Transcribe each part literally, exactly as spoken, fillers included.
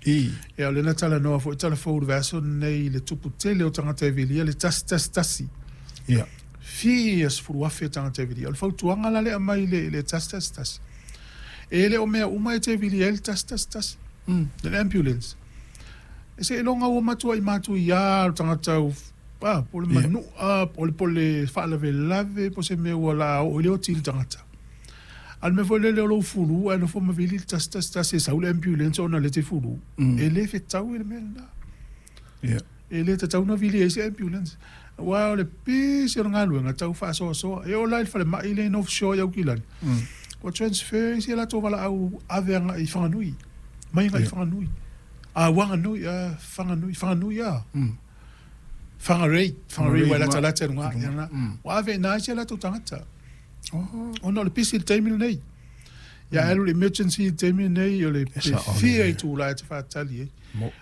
Ia o lea na talanoa foi tala fou i le vaiaso lenei i le tupu tele o tagata e vilia le tasi tasi tasi. Ia. Fia sefulu afe tagata e vilia. O le fautuaga la lea aumai i le tasi tasi tasi, e le o mea uma e te vilia ai le tasi tasi tasi. Le ambulance. E seiloga ua matuai matuia le tagata ah, po o le manua, po o le faalavelave, po o se mea ua la oo i le oti i le tagata. A o le mea foi lele o lou fulu ae nofo ma vili le tasi tasi tasi e sau le ambulance ona o lea e te fulu. E le fetaui le mea lena. E le tatau ona vili ai se ambulance. Aua o le pisi o le galuega tau faasoasoa. E oo la i le falemai lea i North Shore i Aukilani, ua transfer isi a latou valaau ave agai i Whanganui. Mai agai i Whanganui. A Wanganui, a Whanganui, Whanganui a. Whangarei, Whangarei ua e latalata i luga ia na. Ua ave i ina isi a latou tagata. Ona o le pisi i le taimi lenei. Ia alu i le emergency i le taimi lenei o le fia itula e te faatali ai.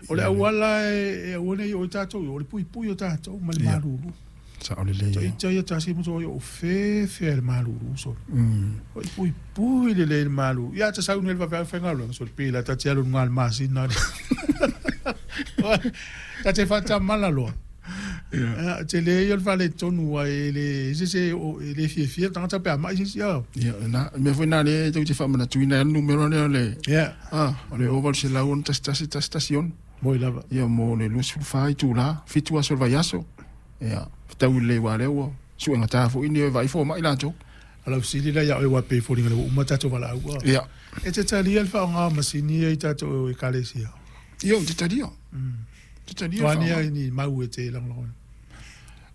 O le auala e aua ne i oo ai tatou i o, o le puipui o tatou ma le malulu. Ita ia tasi ma toi o fefe le malulu so. O i puipui lelei le malulu. Ia ta sau nei le vaveao faigaluega so le pila ta te alu luga o le masina. Ta te faatamala loa. Ia, tele ia o le faaletonu ai e le se se e le fiafia le tagata pe a mai se isi a. Ia, na, mea foi na lea e tou te faamanatuina ai le numera lea o le, Ia. ah, o le o valu selau ono tasi tasi tasi tasi ono. Moi lava. Ia, mo le luasefulu fa itula, fitu aso o le vaiaso. Ia, fetaui lelei aua o lea ua suegata foi ni e vaai fomai latou. O lau fesili la ia oe aua e pei e foliga ua uma tatou valaau. Ia. E te talia le faaaoga o masini ia i tatou ekalesia? Ia, ou te talia. Te talia le O a ni faaaoga. ai ni mau e te lagolagoina?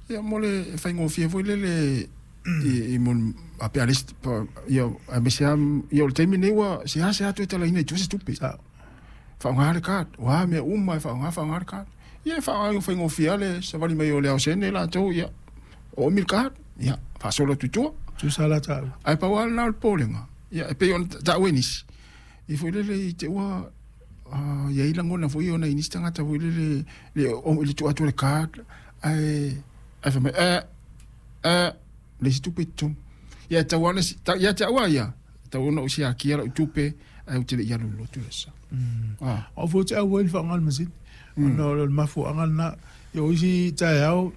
Ia, mo le faigofie foi lele i, i mo a pe a le isi, pa, ia, aemaise lava, ia o le taimi lenei ua seasea toe talaina i tua se tupe. Sao. Faaaoga le card, o a mea uma e faaaoga, faaaoga le card. Ia e faaaoga faigofie lava le savali mai o le aosene latou, ia, oomi le card, ia, faasolo atu i tua. Tusa la taua. Ae pau lava lena o le popolega, ia, e pei ona taua e nisi, i foi lele i te ua ah, i ai lagona foi o nai nisi tagata foi lele le o le tuu atu o le card, ae ae fai mai, eh, eh, le isi tupe i totonu. Ia e tatau lava ona si- ta- ia te au lava ia, e tatau ona ou siakia lau tupe, ae ou te le i alu i le lotu le aso. Ah. O au foi ou te auai i le faaaoga o le masini. Ona o le mafuaaga lena. Ia o isi taeao,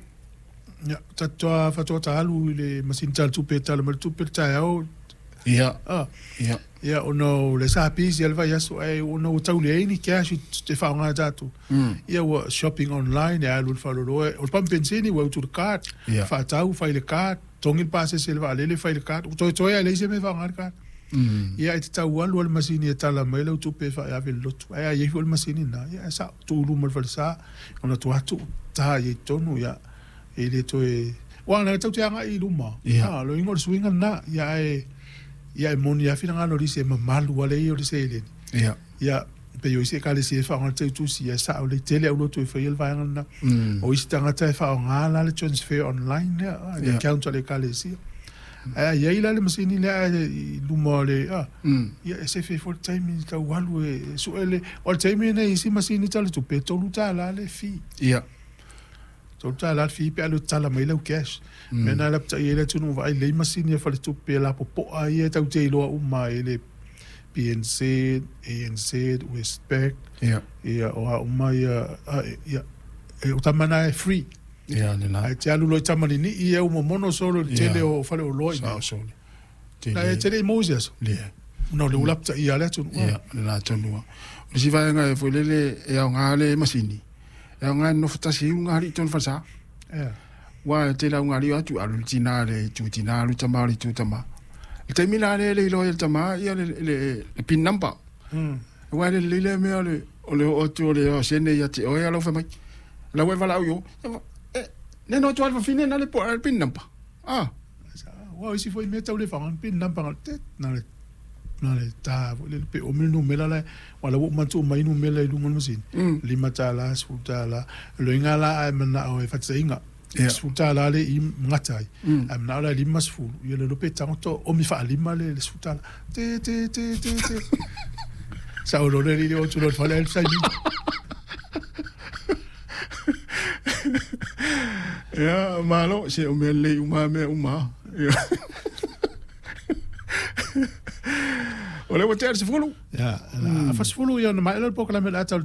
ia, tatou faatoa ta alu i le masini tala tupe e tala mai le tupe le taeao. Ia. Ah. Ia. Ia, ona o le sa pisi le vaiaso, ae ona ua tau leai ni cash e faaaoga e tatou. Ia ua shopping online, e alu i le faleoloa, o le pamu penisini ua utu i le card, Ia. faatau, fai i le card, togi le pasese i le vaalele, fai i le card, ua toetoe lava e leai se mea e faaaoga ai le card. Ia e tatau alu lava le masini e tala mai lau tupe e faaave i le lotu. Ae a i ai foi le masini lena, ia e sao, tuu i luma o le falesa, ona tuu atu, ta i ai i totonu, ia, e le toe... Aua na tou te agai i luma, Ia. a, o le uiga o le suiga lena, ia ae, ia e moni lava finagalo o nisi e mamalu lava le ia o le seleni. Ia. Ia, pei o isi ekalesia e faaaoga le teutusi, ia e sao lelei tele aulotu e faia le vaega lena. O isi tagata e faaaoga la le transfer online lea, a, le Ia. account a le ekalesia. Ae a i ai la le masini lea ae i luma o le, a, ia e sefe foi le taimi tau alu e sue le, o le taimi lenei i isi masini tala tupe, e tolu tala le fee. Ia. Tolu tala le fee pe a alu e tatala mai lau cash. Mea na lapatai ai le atunuu vaai lelei masini a faletupe e lapopoa ia e tau te iloa uma ai le P N Z, A N Z, Westpac, Ia. ia o a uma ia, a, ia, e o tama na e free. Ia, le la. Ae te alu loa i tamalini'i ia ua momono solo i le tele Ia. o faleoloa i Sao nei. solo. Na e tele i maua i se aso. Le. Ona o le ua lapatai lava le atunuu. Ia, le la tonu lava. O le isi vaega e foi lele e aoga le masini, e aoga e nonofo tasi ai ulugalii i totonu o le falesa. Ia. Aua e tele lava ulugalii o atu, alu le tina i le itu tina, alu tama i le itu tama. Le taimi la lea e le iloa ai e le tama ia le, le, le pin number. Mm. Aua e le lelei lea mea o le, o le oo atu o le osene ia te oe a lau fai mai. Lau e valaau i o, e, ne no atu a le fafine na le po le pin number. Ah. Aua o isi foi mea tau le faaaoga le pin number na le tet, na le na le ta foi le pe omi le numera la, aua la ua uma ona tuu mai numera i luga o le masini. Mm. Lima tala, sefulu tala, loiga la ae manao e fatetaiga. Ia. Sefulu tala le i gata ai. Mm. Ae manao la e lima sefulu, ia le iloa pe tago to omi faalima le le sefulu tala. Te te te te te. Sao loa le alii o atu loa i le fale ae le saini. Ia, malo, se o mea lelei uma mea uma. Ia. O lea ua tea le sefulu. Ia, a fasefulu ia ona maea lea o le polokalame o le a tau le